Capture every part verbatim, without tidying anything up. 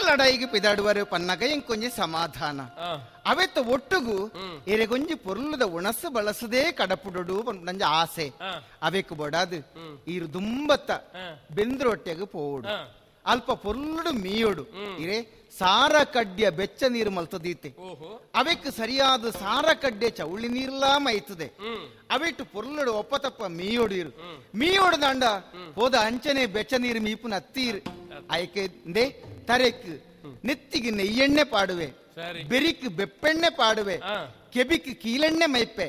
ಲಡಾಯಿಗೆ ಪಿದಾಡುವರು ಪನ್ನಗ ಇಂಕೊಂಜಿ ಸಮಾಧಾನ ಅವೆತ್ತ ಒಟ್ಟುಗು ಎರೆಗೊಂಜಿ ಪೊರ್ಲುದ ಉಣಸು ಬಳಸದೇ ಕಡಪುಡೋಡು ನಂಜ ಆಸೆ ಅವೆಕ್ ಬೊಡಾದು ಈರು ದುಂಬತ್ತ ಬೆಂದ್ರೊಟ್ಟೆಗೆ ಪೋಡು ಅಲ್ಪ ಪೊರ್ಲುಡು ಮೀಯೋಡು ಇರೆ ಸಾರ ಕಡ್ಯ ಬೆಚ್ಚ ನೀರು ಮಲ್ತದೀತೆ ಅವೆಕ್ ಸರಿಯಾದ ಸಾರ ಕಡ್ಡೆ ಚೌಳಿ ನೀರ್ಲಾ ಮೈತದೆ ಅವೆಟ್ಟು ಪೊರ್ಲುಡು ಒಪ್ಪತಪ್ಪ ಮೀಯೋಡು ಇರು ಮೀಯೋಡು ದಾಂಡ ಹೋದ ಅಂಚನೆ ಬೆಚ್ಚ ನೀರು ಮೀಪುನ ಅತ್ತೀರು ಆಯ್ಕೆ ತರೆಕ್ ನೆತ್ತಿಗೆ ನೆಯ್ಯೆಣ್ಣೆ ಪಾಡುವೆ ಬೆರಿಕ್ ಬೆಪ್ಪೆಣ್ಣೆ ಪಾಡುವೆ ಕೆಬಿಕ್ ಕೀಲೆಣ್ಣೆ ಮೈಪೆ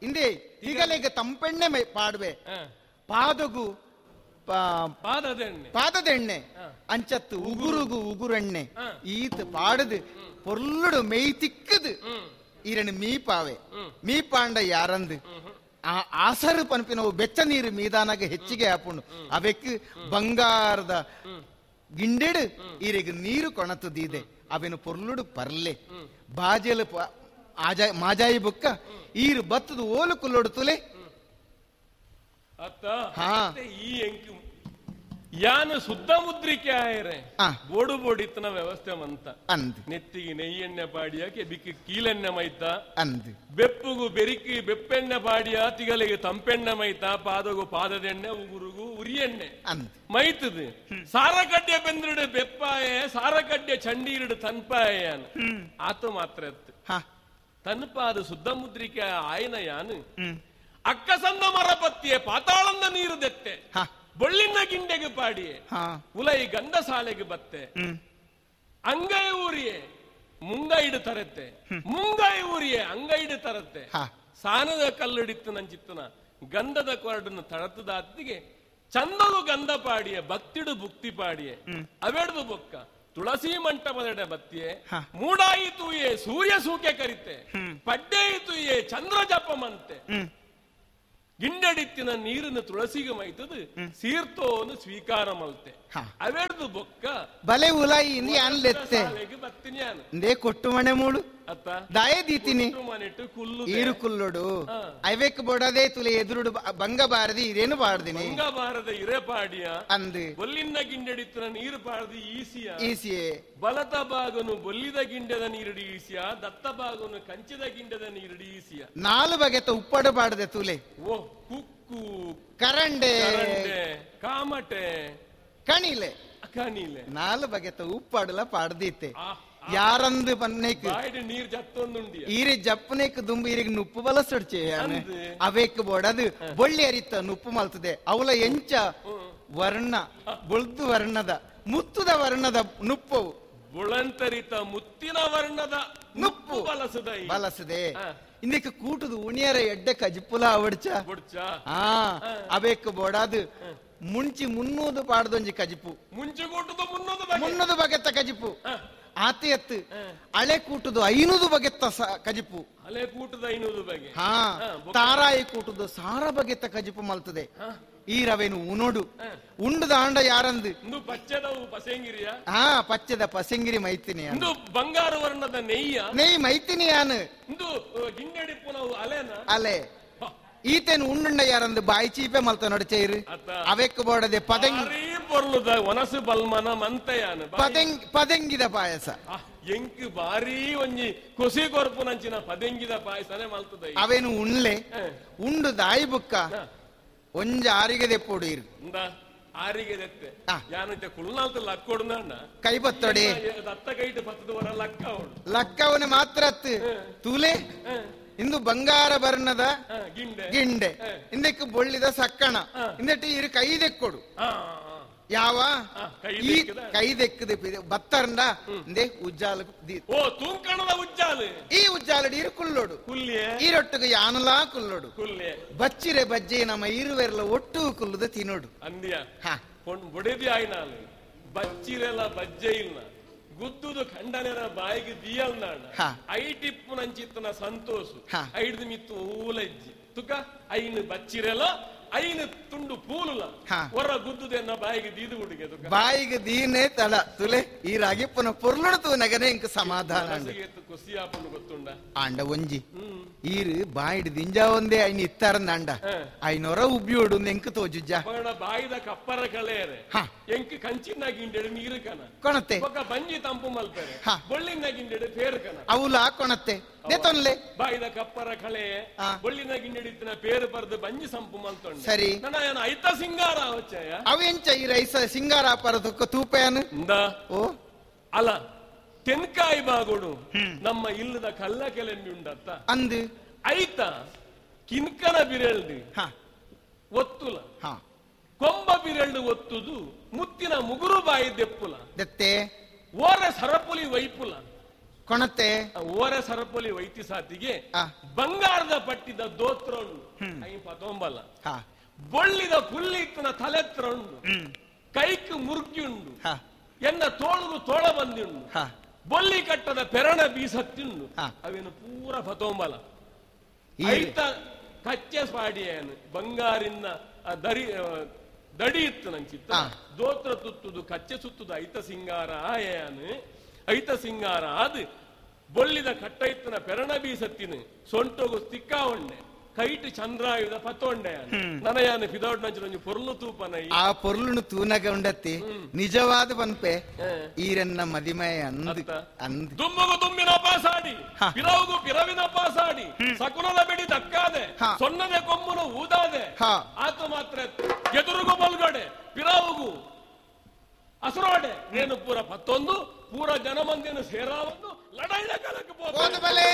ಇಂದೇ ಈಗಲೇಗ ತಂಪೆಣ್ಣೆ ಮೈ ಪಾಡುವೆ ಪಾದಗು ಪಾದದೆಣ್ಣೆ ಅಂಚತ್ತು ಉಗುರುಗು ಉಗುರೆಣ್ಣೆ ಈತ ಪಾಡದು ಪೊರ್ಲುಡು ಮೆಯ್ ತಿಕ್ಕದು ಈರಣ್ಣು ಮೀಪಾವೆ ಮೀಪಾಂಡ ಯಾರಂದು ಆ ಆಸರು ಪನ್ಪಿನವು ಬೆಚ್ಚ ನೀರು ಮೀದಾನಾಗ ಹೆಚ್ಚಿಗೆ ಆಪುಂಡು ಅವೆಕ್ ಬಂಗಾರದ ಗಿಂಡೆಡು ಈರೆಗ್ ನೀರು ಕೊಣತದೀದೆ ಅವೆನು ಪೊರ್ಲುಡು ಪರ್ಲೆ ಬಾಜೆಲು ಮಾಜಾಯಿ ಬುಕ್ಕ ಈರು ಬತ್ತದು ಓಲು ಕುಲ್ಲೊಡು ತುಲೆ ಯಾನು ಶುದ್ಧ ಮುದ್ರಿಕೆ ಆಯರೆ ಬೋಡು ಬೋಡಿತ್ತನ ವ್ಯವಸ್ಥೆ ಮಂತ ನೆತ್ತಿಗೆ ನೆಯ್ಯೆಣ್ಣೆ ಪಾಡಿಯ ಕೆಬಿಕ್ ಕೀಲೆಣ್ಣೆ ಮೈತ ಅಂದ್ ಬೆಪ್ಪುಗು ಬೆರಿಕಿ ಬೆಪ್ಪೆಣ್ಣೆ ಪಾಡಿಯ ತಿಗಲಿಗೆ ತಂಪೆಣ್ಣೆ ಮೈತ ಪಾದಗು ಪಾದದೆಣ್ಣೆ ಉಗುರುಗು ಉರಿಯೆಣ್ಣೆ ಮೈತದು ಸಾರಕಡ್ಡೆ ಬೆಂದ್ರಡು ಬೆಪ್ಪಾಯೆ ಸಾರಕಡ್ಡೆ ಚಂಡೀರಡು ತನ್ಪಾಯ ಆತ ಮಾತ್ರ ಎತ್ತು ತನ್ಪಾದ ಶುದ್ಧ ಮುದ್ರಿಕೆ ಆಯನ ಯಾನು ಅಕ್ಕಸಂದ ಮರಪತ್ತಿಯೆ ಪಾತಾಳಂದ ನೀರು ದೆತ್ತೆ ಬೊಳ್ಳಿನ ಗಿಂಡೆಗೆ ಪಾಡಿಯೆ ಉಲೈ ಗಂಧಸಾಲೆಗೆ ಬತ್ತೆ ಅಂಗೈ ಊರಿಯೆ ಮುಂಗೈಡು ತರತ್ತೆ ಮುಂಗೈ ಊರಿಯೆ ಅಂಗೈಡು ತರತ್ತೆ ಸಾನದ ಕಲ್ಲುಡಿತ್ತು ನಂಚಿತ್ತನ ಗಂಧದ ಕೊರಡನ್ನು ತಳತದಾತ್ತಿಗೆ ಚಂದದು ಗಂಧ ಪಾಡಿಯೆ ಬತ್ತಿಡು ಬುಕ್ತಿ ಪಾಡಿಯೆ ಅವೆಡ್ದು ಬೊಕ್ಕ ತುಳಸಿ ಮಂಟಪದೆಡೆ ಬತ್ತಿಯೆ ಮೂಡಾಯಿತು ಏ ಸೂರ್ಯ ಸೂಕೆ ಕರಿತೆ ಪಡ್ಡೇಯಿತು ಏ ಚಂದ್ರ ಜಪಮಂತೆ ಗಿಂಡಡಿತ್ತಿನ ನೀರನ್ನು ತುಳಸಿಗೆ ಮೈತದು ಸೀರ್ತೋನು ಸ್ವೀಕಾರ ಮಲ್ತೆ ಅವೆಡ್ದು ಬೊಕ್ಕ ಬಲೆ ಉಲಾಯಿ ಬತ್ತಿನಿ ಕೊಟ್ಟು ಮಣೆ ಮೂಡು ದಾಯ ದೀತಿನಿ ಈರು ಕುಲ್ಲುಡು ಐವೆಕ್ ಬೊಡದೆ ತುಲೆ ಎದುರುಡು ಬಂಗ ಬಾರದಿ ಇರೇನು ಬಾಡ್ದಿನಿ ಬಂಗ ಬಾರದ ಇರೆ ಪಾಡಿಯ ಅಂದು ಬೊಲ್ಲಿನ ಗಿಂಡಡಿತ್ತಿನ ನೀರು ಪಾಡದಿ ಈಸಿಯ ಈಸಿಯೇ ಬಲತ ಬಾಗನು ಬೊಲ್ಲಿದ ಗಿಂಡದ ನೀರುಡಿ ಈಸಿಯ ದತ್ತ ಬಾಗನು ಕಂಚಿದ ಗಿಂಡದ ನೀರುಡಿ ಈಸಿಯ ನಾಲು ಬಗೆತ ಉಪ್ಪಡು ಬಾಡದೆ ತುಲೆ ಓ ಕುಕ್ಕು ಕರಂಡೆ ಕಾಮಟೆ ಕಣಿಲೆ ಕಣಿಲೆ ನಾಲು ಬಗೆತ ಉಪ್ಪಾಡಲ ಪಾಡ್ದೀತೆ ಯಾರಂದು ಪನ್ನೇಕ್ ಈರೆ ಜಪ್ಪನೇಕ್ ದುಂಬು ಈರಿಗೆ ನುಪ್ಪು ಬಲಸಡ್ಚೆ ಅವೇಕ್ ಬೋಡದು ಬೊಳ್ಳಿ ಅರಿತ ನುಪ್ಪು ಮಲ್ತದೆ ಅವಲ ಎಂಚ ವರ್ಣ ಬೊಳ್ದು ವರ್ಣದ ಮುತ್ತುದ ವರ್ಣದ ನುಪ್ಪವು ಬುಳಂತರಿತ ಮುತ್ತಿನ ವರ್ಣದ ನುಪ್ಪು ಬಲಸದೆ ಬಲಸದೆ ಇಂದಕ್ಕೆ ಕೂಟದ ಉಣಿಯರ ಎಡ್ಡೆ ಕಜಿಪುಲ ಅವಡ್ಚ ಆ ಅವೇಕ್ ಬೋಡದು ಮುಂಚಿ ಮುನ್ನೂದು ಪಾಡ್ದೊಂಜಿ ಕಜಿಪು ಮುಂಚಿ ಕೂಟದ ಮುನ್ನೂದು ಮುನ್ನೂದು ಬಗೆತ್ತ ಕಜಿಪು ಆತಿ ಎತ್ತು ಹಳೆ ಕೂಟದು ಐನೂರು ಬಗೆತ್ತ ಕಜಿಪು ಹಳೆ ಕೂಟದ ಐನೂರು ಬಗೆ ಹಾ ತಾರಾಯಿ ಕೂಟದು ಸಾರ ಬಗೆತ್ತ ಕಜಿಪು ಮಲ್ತದೆ ಈ ರವೆನು ಉನೋಡು ಉಂಡುದ ಆಂಡ ಯಾರಂದು ಪಚ್ಚದ ಪಸೆಂಗಿರಿಯ ಹಾ ಪಚ್ಚದ ಪಸೆಂಗಿರಿ ಮೈತಿನಿ ಬಂಗಾರ ವರ್ಣದ ನೆಯ್ಯ ನೆಯ್ ಮೈತಿನಿ ಯಾನು ಅಲೆನ ಅಲೆ ಈತೇನು ಉಂಡುಂಡ ಯಾರಂದು ಬಾಯಿ ಚೀಪೆ ಮಲ್ತ ನೋಡ ಚೈರು ಅವೆಕ್ ಬೋಡದೆ ಪದಂಗಿ ಒನಸು ಬಲ್ಮನ ಮಂತೆಯಾನ ಪದೆಂಗ್ ಪದೆಂಗಿದ ಪಾಯಸ ಎಂಕ್ ಬಾರಿ ಒಂಜಿ ಕೊಸಿ ಕೊರ್ಪು ನಂಚಿನ ಪದೆಂಗಿದ ಪಾಯಸನೆ ಮಲ್ತದ ಅವೇನು ಉಣ್ಲೆ ಉಂಡು ದಾಯಿ ಬುಕ್ಕ ಒಂಜ ಆರಿಗೆ ದೆಪ್ಪೋಡು ಇರು ಆರಿಗೆ ದೆತ್ತೆ ಯಾನಂತೆ ಕುಳ್ನಾಲ್ತ ಲಕ್ಕೊಡು ಕೈ ಬತ್ತೊಡೆ ದತ್ತ ಕೈಟು ಪತ್ತದ ವರ ಲಕ್ಕ ಲಕ್ಕವನ ಮಾತ್ರ ತೂಲೆ ಇಂದು ಬಂಗಾರ ಬರ್ಣದ ಗಿಂಡೆ ಇಂದಕ್ಕೆ ಬೊಳ್ಳಿದ ಸಕ್ಕಣ ಇಂದಟ್ಟು ಇರು ಕೈ ದೆಕ್ಕೊಡು ಯಾವ ಈ ಕೈ ದೆಕ್ಕದ ಬತ್ತರಂಡ ಇಂದೇ ಉಜ್ಜಾಲ ಓ ತೂಂಕಣದ ಉಜ್ಜಾಲು ಈ ಉಜ್ಜಾಲಡಿ ಇರು ಕುಲ್ಲೋಡು ಈರೊಟ್ಟಿಗೆ ಯಾನಲಾ ಕುಲ್ಲೋಡು ಬಚ್ಚಿರೆ ಬಜ್ಜೆ ನಮ್ಮ ಇರುವೆರ್ಲ ಒಟ್ಟು ಕುಲ್ಲುದ ತಿನ್ನೋಡು ಅಂದ್ಯ ಬೊಡೆದಿ ಆಯ್ನಾಲು ಬಚ್ಚಿರೆಲ್ಲ ಬಜ್ಜೆ ಇಲ್ಲ ಗುದ್ದುದು ಖಂಡನೆರ ಬಾಯಿಗೆ ದಿಯಲ್ನಾಡ ಐಟಿಪ್ಪು ನಂಚಿತ್ತನ ಸಂತೋಷ ಐಡ್ದು ಮಿತ್ತು ಊಲಜ್ಜಿ ತುಕ ಐನು ಬಚ್ಚಿರೆಲ ಐನು ತುಂಡು ಪೂಲುಲ ಹೊರ ಗುದ್ದುದೆನ್ನ ಬಾಯಿಗೆ ದೀದು ಹುಡುಗೆ ಬಾಯಿಗೆ ದೀನೇ ತಲ ತುಲೆ ಈ ರಾಗಿಪ್ಪನ ಪೊರ್ಲುಡು ತೂನಗನೆ ಇಂಕ ಸಮಾಧಾನ ಖುಷಿ ಆಪುಂಡು ಗೊತ್ತುಂಡ ಆಂಡ ಒಂಜಿ ಈರು ಬಾಯಿಡ್ ದಿಂಜಾ ಒಂದೇ ಐನ್ ಇತ್ತಾರಂದ ಅಂಡ ಐನೊರ ಉಬ್ಬಿಯೋಡು ಎಂಕ್ ತೋಜುಜ್ಜ ಬಾಯಿದ ಕಪ್ಪರ ಕಳೆಯರೆ ಎಂಕ್ ಕಂಚಿನ ಗಿಂಡೆಡು ನೀರು ಕನ ಕೊಣತೆ ಬಂಜಿ ತಂಪು ಮಲ್ಪೆರೆ ಬೊಳ್ಳಿನ ಗಿಂಡೆಡು ಪೇರು ಕನ ಅವುಲ ಕೊಣತೆ ದೇತೊನ್ಲೆ ಬಾಯಿದ ಕಪ್ಪರ ಕಳೆ ಬೊಳ್ಳಿನ ಗಿಂಡೆಡಿತ್ತಿನ ಪೇರು ಪರ್ದು ಬಂಜಿ ಸಂಪು ಮಲ್ತೊಂಡೆ ಸರಿ ನನ್ನ ಐತ ಸಿಂಗಾರ ಅವಚ್ಚಯ ಅವೆಂಚ ಈ ರೈಸ ಸಿಂಗಾರ ಪರದಕ್ಕ ತೂಪೇನು ಓ ಅಲ್ಲ ತೆನ್ಕಾಯಿ ಬಾಗೋಡು ನಮ್ಮ ಇಲ್ಲದ ಕಲ್ಲ ಕೆಲೆಂಬಿ ಉಂಡತ್ತ ಅಂದು ಐತ ಕಿನ್ಕನ ಬಿರೆಳ್ದು ಒತ್ತುಲ ಕೊಂಬ ಬಿರೆಳ್ದು ಒತ್ತುದು ಮುತ್ತಿನ ಮುಗುರು ಬಾಯಿ ದೆಪ್ಪುಲ ದತ್ತೆ ಓರೆ ಸರಪುಲಿ ವೈಪುಲ ಕೊಣತೆ ಓರೆ ಸರಪುಲಿ ವೈತಿ ಸಾತಿಗೆ ಬಂಗಾರದ ಪಟ್ಟಿದ ದೋತ್ರ ಉಂಡು ಪತೊಂಬಲ ಬೊಳ್ಳಿದ ಪುಲ್ಲಿತ್ತನ ತಲೆತ್ರ ಉಂಡು ಕೈಕ್ ಮುರುಕಿ ಉಂಡು ಎನ್ನ ತೋಳುಗು ತೋಳ ಬಂದಿಂಡು ಬೊಳ್ಳಿ ಕಟ್ಟದ ಪೆರಣ ಬೀಸತ್ತಿಂಡು ಅವೇನು ಪೂರ ಪತೊಂಬಲ ಐತ ಕಚ್ಚೆ ಪಾಡಿಯೇನು ಬಂಗಾರಿನ ದರಿ ದಡಿ ಇತ್ತು ನಂಚಿತ್ತ ದೋತ್ರ ತುತ್ತುದು ಕಚ್ಚೆ ಸುತ್ತುದು ಐತ ಸಿಂಗಾರ ಆಯನು ಐತ ಸಿಂಗಾರ ಅದು ಬೊಳ್ಳಿದ ಕಟ್ಟ ಇತ್ತನ ಪೆರಣ ಬೀಸತ್ತಿನ ಸೊಂಟೋಗು ತಿಕ್ಕಾವಣ್ಣೆ ಕೈಟ್ ಚಂದ್ರಾಯುಧ ಪತ್ತೊಂಡೆ ನನಯಾನ ಫಿದೌಟ್ ನಂಚು ಪೊರ್ಲು ತೂಪನ ಆ ಪೊರ್ಲುನು ತೂನಗ ಉಂಡತ್ತಿ ನಿಜವಾದ ಪನ್ಪೆ ಈರನ್ನ ಮದಿಮಯ ಅಂದು ಅಂದು ದುಮ್ಮಗು ದುಮ್ಮಿನ ಪಾಸಾಡಿ ಪಿರವುಗು ಪಿರವಿನ ಪಾಸಾಡಿ ಸಕುಲದ ಬಿಡಿ ದಕ್ಕಾದೆ ಸೊನ್ನದೆ ಕೊಂಬುನು ಊದಾದೆ ಆತು ಮಾತ್ರ ಎದುರುಗು ಬಲ್ಗಡೆ ಪಿರವುಗು ಅಸುರೋಡೆ ಏನು ಪೂರ ಪತ್ತೊಂದು ಪೂರ ಜನಮಂದಿನ ಸೇರಾವನ್ನು ಲಡಾಯಿದ ಕಾಲಕ್ಕೆ ಹೋದ ಬಲೆ.